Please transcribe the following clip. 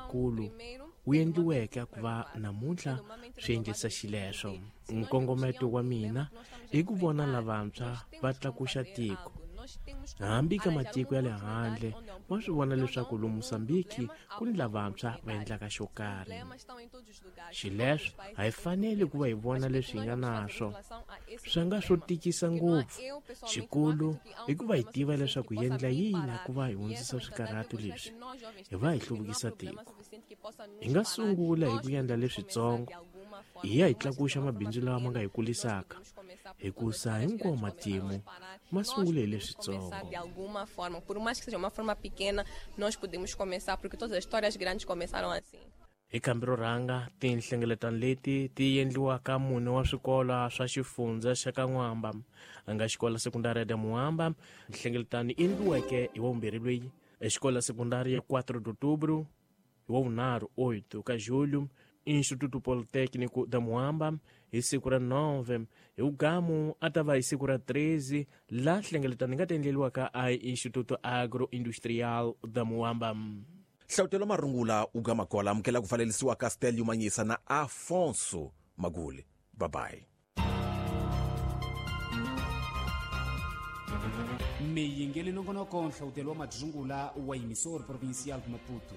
lowukulu wu endliweke ku va namuntlha swi endlisa xileswo. Nkongometo wa mina i ku vona lavantshwa va tlakuxa tiko. Hambi ka matiko ya le handle va swi vona leswaku lomu Mosambiki ku ni lavantshwa va endlaka xo karhi. Xileswo a hi faneli ku va hi vona leswi hi nga naswo swi nga swo tikisa ngopfu. Xikulu i ku va hi tiva leswaku hi endla yini ku va hi hundzisa swikarhato leswi, hi va hi hluvukisa tiko. Hi nga sungula hi ku endla leswitsongo, hi ya hi tlakuxa mabindzu lawa ma nga hi kulisaka, hikusa hinkwawo matimu ma sungule hi leswitsongo. De alguma forma, por mais que seja uma forma pequena, nós podemos começar, porque todas as histórias grandes começaram assim. Hi khambi ro rhanga, tinhlengeletano leti ti endliwaka mune wa swikolo swa xifundza xa ka N'wamba, nga xikola sekundari ya Muamba. Nhlengeletano yi endliweke hi wavumbirhi lweyi exikola sekundari ya 4 de Outubro, hi wavunharhu 8 ka Julho, Instituto Politécnico da Muamba hi siku ra 9, hi wugamu a ta va hi siku ra 13 laha nhlengeletano yi nga ta endleriwaka a Instituto Agroindustrial da Muamba. Hlavutelo marungula uga makola amukela ku pfalelisiwa ka Stelio Manyisa na Afonso Maguli. Bye bye. Miyingeli nongonoko nhlawutelo wa madzungula wa Emissor Provincial de Maputo.